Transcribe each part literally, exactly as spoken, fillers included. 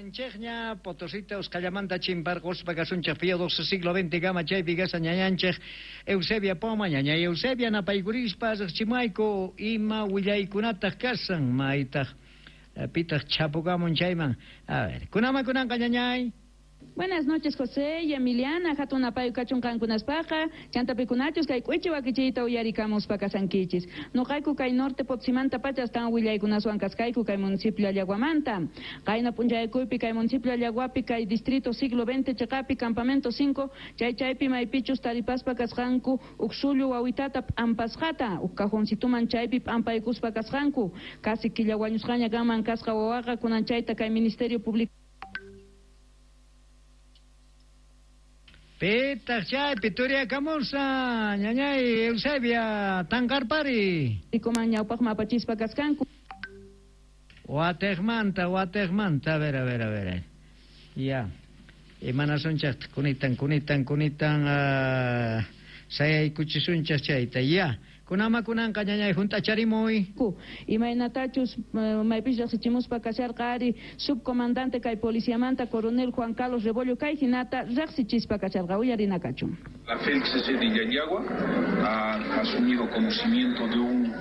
Kasanchikña Potosita usqallamanta chimparquspa kasunchik Pío doce siglo veinte gama chaypi kasa ñañanchik Eusebia Poma, ñaña Eusebia napaykurispa riqchimayku ima willaykunataq kasan maytaq pitaq chapukamun chayman. A ver, kunama kunanqa ñañay. Buenas noches, José y Emiliana. Hatun apayu kachun qankunaspaqa, chantapikunachus kay k'uichi wakichiyta uyarikamuspa kasankichis. Nuqayku kay norte Potosímanta pacha astawan willaykunaswan kaskayku kay municipio Allaguamanta. Qayna p'unchaykuypi kay municipio Allaguapi kay distrito siglo veinte chiqapi campamento cinco chay chaypi maypichus taripaspa kasqanku uksullu wawitata p'ampasqata uk cajoncituman chaypi p'ampaykuspa kasqanku. Casi killa wañusqaña kanman kasqa wawaqa kunan chayta kay Ministerio Público Pitaq chaypi turiakamusa, ñañay Eusebia, tanqarpari. Kuman ñawpaqman apachispa kaskanku. Wateqmanta, wateqmanta, a ver, a ver, a ver. Ya. Imanasunchaqta, kunitan, kunitan, kunitan, uh, sayaykuchisunchaq chayta, ya. Kunama kunanqa ñañay junt'acharimuy. Imaynatachus maypis riqsichimuspa kasharqa ari subcomandante kay policiamanta coronel Juan Carlos Rebollo kay hinata riqsichispa kasharqa uyarina kachun. La F E L C C de Llallagua ha asumido conocimiento de un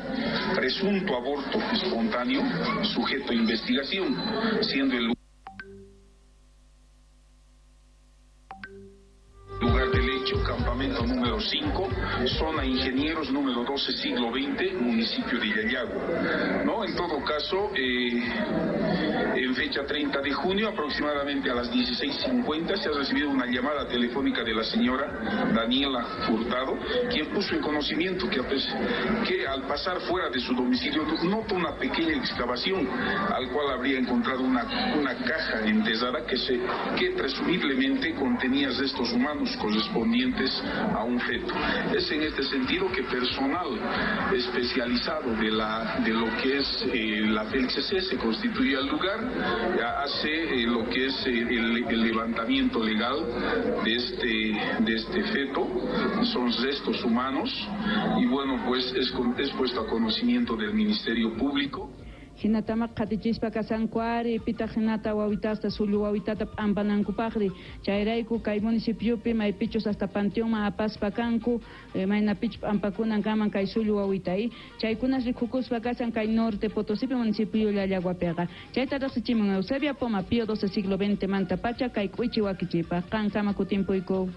presunto aborto espontáneo sujeto a investigación, siendo el lugar del hecho, campamento número cinco, zona Ingenieros número doce, siglo veinte, municipio de Llallagua. ¿No? En todo caso, eh, en fecha treinta de junio, aproximadamente a las dieciséis cincuenta, se ha recibido una llamada telefónica de la señora Daniela Furtado, quien puso en conocimiento que, que al pasar fuera de su domicilio notó una pequeña excavación, al cual habría encontrado una, una caja enterrada que, se, que presumiblemente contenía restos humanos correspondientes a un feto. Es en este sentido que personal especializado de, la, de lo que es eh, la F E L C C se constituye al lugar, hace eh, lo que es eh, el, el levantamiento legal de este, de este feto, son restos humanos, y bueno, pues es, es puesto a conocimiento del Ministerio Público. Hinatamaq qatichispa kasanku ari pitaq hinata wawitasta sullu wawitata p'ampanankupaqri chayrayku kay municipiopi maypichus hasta panteonman apaspa kanku maynapichus p'ampakunan kaman kay sullu wawitay chaykunas rikukuspa kasan kay norte Potosípi municipio Llallaguapiqa chayta riqsichimun Eusebia Poma Pío doce siglo veinte manta pacha kay k'uichi wakichipaq qankama kutimpuyku.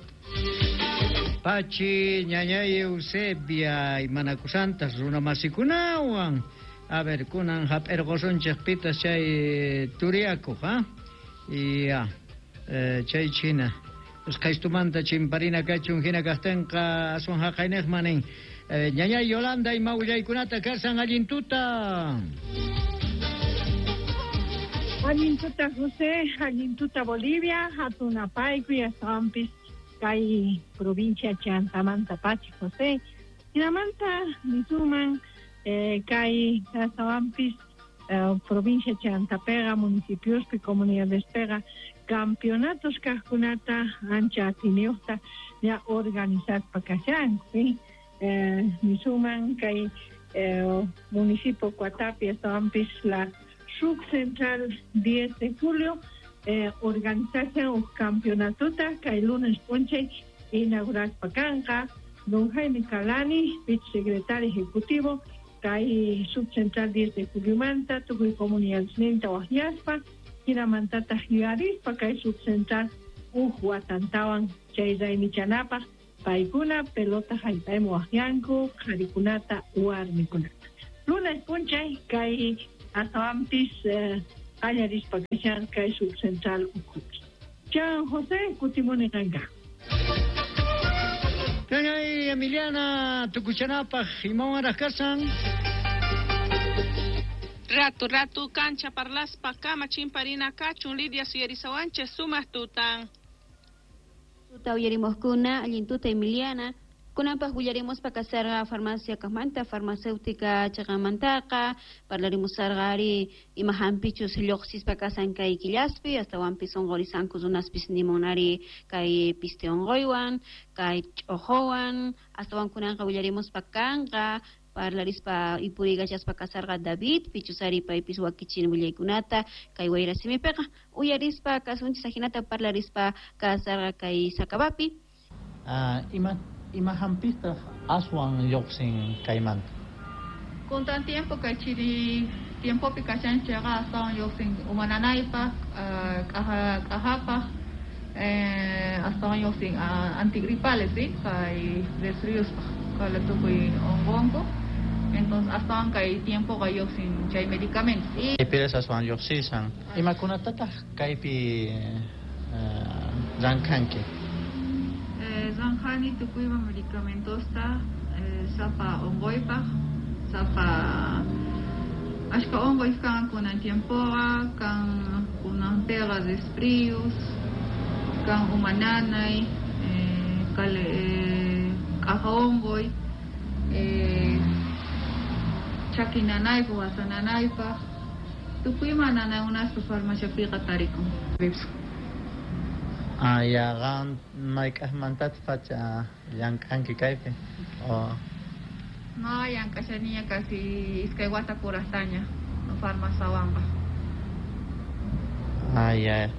Pachi ñañay Eusebia imanakusantas runamasikunawan. A ver, kunan hap'irqusunchik pitas chay turiakuq, ha? Ya, eh, chay china. Usqhaystumanta chimparina kachun hina kaqtinqa aswan haqayniqman nin. Eh, ñañay Yolanda ima willaykunata kasan allin tuta. Allin tuta José, allin tuta Bolivia, hatun apaykuy astawanpis kay provincia Chantamanta pachi José. Hinamanta nisuman Eh, kay astawanpis eh, provincia Chantapega, municipiospi, comunidadespega, campeonatos kaqkunata ancha atiniyuqta ya organizaspa kashanku, ¿sí? Eh, nisuman kay eh, municipio Cuatapi astawanpis la subcentral diez de julio eh, organizashan uj campeonatota kay lunes p'unchay inauguraspa kanqa don Jaime Calani, vicesecretario ejecutivo kay subcentral diez de juliomanta tukuy comunidadesninta waqyaspa hinamantataq yuyarispa kay subcentral uj watantawan chay raymichanapaq paykuna pelota hallp'ayman waqyanku qharikunata warmikunata lunes p'unchay kay astawanpis qallarispa kashan kay subcentral ukhupi. Chan José kutimuni qanka. Ñañay Emiliana tukuchanapaq imawanraq kasan. Ratu, ratu, cancha parlaspa kama chimparina kachun Lidia suyarisawanchis sumaq tutan. Tuta uyarimuqkuna allin tuta Emiliana. Kunanpaq willarimuspa kasarqa farmacia kaqmanta farmacéutica chaqamantaqa parlarimusarqa ari ima hampichus lluqsispa kasan kay killaspi astawanpis unqurisanku runaspis nimunari kay piste unquywan kay ch'uquwan astawan kunanqa willarimuspa kanqa Parlarispa ipurigachaspa kasarqa David pichusari paypis wakichin willaykunata kay wayrasimipiqa uyarispa kasunchis ajinata parlarispa kasarqa kay Sakabapi. Ah, ima ima hampistaq aswan lluqsin kaymanta. Kuntan tiempo kay chiri tiempopi kashanchayqa astawan lluqsin umananaypaq, k'aja k'ajapaq, eh, astawan lluqsin antigripales, ¿sí? Kay resfriuspaq, kala tukuy unqunku. Entonces astawan kay tiempoqa lluqsin chay medicamentos. Y Kaypiras aswan lluqsisan. Imakunatataq kaypi llank'anki? Eh, zanjani tukuyma medicamentosta, eh, sapa unquypaq, sapa ashka unquy kan kunan tiempoqa, kan kunanpiqa resfrios, kan umananay, eh, kale eh, k'aja unquy, eh, chaki nanaypaq, wasa nanaypaq, tukuyma nanaykunaspa farmaciapiqa tarikun. Ah, ya, qam mayk'aqmantataq pacha llank'anki kaypi? O No, llank'ashaniña casi iskay wata kuraqtaña farmaciawanqa. Ah, ya.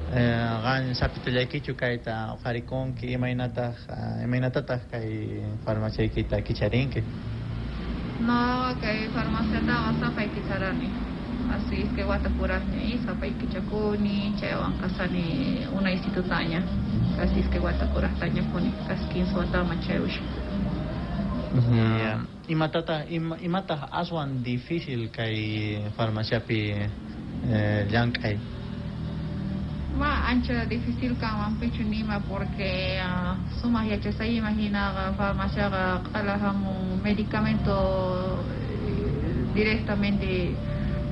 Eh, qam sapitullaykichu kayta uqharikunki, imaynataq imaynatataq kay farmaciaykita kicharinki? No, kay farmaciataqa sapay kicharani. Así iskay wata kuraqña y sapay kichakuni, chaywan kasani unaysitutaña. Casi iskay wata kuraqtaña puni, casi quince wataman chayusha. Yeah. Imatataq ima, imataq aswan difícil kay farmaciapi eh, llank'ay? Ma ancha difícil kanman pichu nima porque uh, sumaq yachasayima hinaqa farmaciaqa q'ala hamun medicamento eh, directamente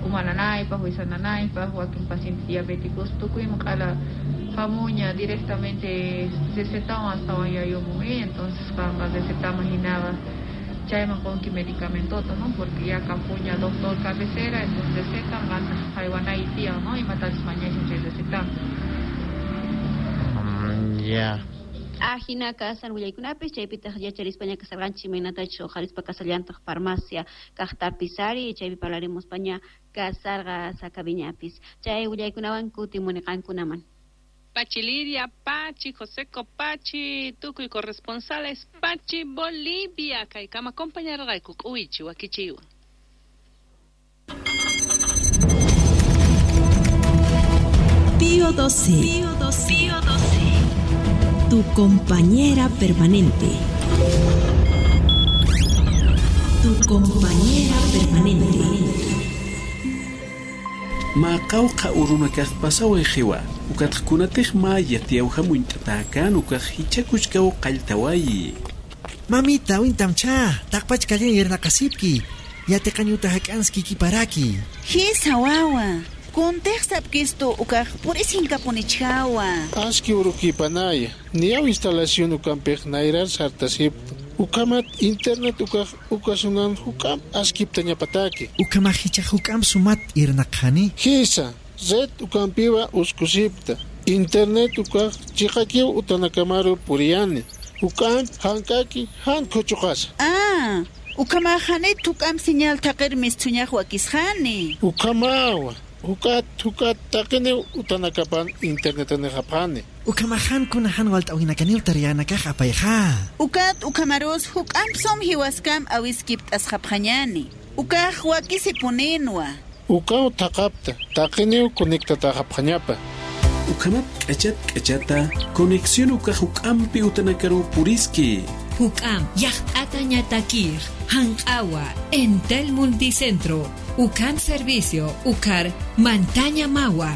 umananaypaq, wisananaypaq, wakin pacientes diabéticos tukuyman q'ala hamuña directamente recetawan astawan yayumun, entonces qanqa recetaman hinaqa chayman qunki medicamentota, ¿no? Porque ya kampuña doctor cabecera, entonces recetan qantaq haywanay tiyan, ¿no? Imatachus mañashan chay recetan. Mm, ya. Ajina kasan willaykunapis chaypitaq yacharispaña kasarqanchik imaynatachus uqharispa kasallantaq farmacia kaqtapis ari chaypi parlarimuspaña kasarqa Sakabiñapis chay willaykunawan kutimuni qankunaman. Pachi Lidia, Pachi, José Copachi, tukuy corresponsales, Pachi Bolivia, kaykama compañarqayku k'uwichi wakichiwan. Pío doce. Pío doce. Pío doce. Tu compañera permanente. Tu compañera permanente. Maqawqa urunakaq pasaway qiwa ukatqkunatiq maya tiyawhamunt'atakan ukaq hichakuchkaw qalltawayi. Mamita wintamcha taqpachkallan yernaqasipki yatiqañuta hak'anski kiparaki. Hisa wawa kuntiqsapkistu ukaq purisinkapunich-hawa. Aski urukipanaya niyaw instalación ukampiq nayrar sartasipta. Ukamat internet ukaq ukasunan hukam askipta ñapataki. Ukamaq hichaq hukam sumat irnaqhani. Hisa red ukampiwa uskusipta. Internet ukaq chiqakiw utanakamaru puriyani. Hukam hankaki han kuchuqasa. Ah, ukamaqhani tukam señal taqirmis thuñaq wakisqani. Ukamawa. Hukat hukat taqini utanakapan internet niqapani. Ukamahan kunahan walt'awinakanil tariyanakaq apayqa. Ukat ukamarus huk'ampsum hiwaskam awiskipt asqapqañani. Ukaq wakisipuninwa. Ukaw taqapta taqiniw conectataqapqañapa. Ukamat k'achat k'achata conexión ukaq huk'ampi utanakaru puriski. Huk'am yaqt'ata ñatakir hanq'awa Entel Multicentro Ukam Servicio Ukar Mantaña Mawa.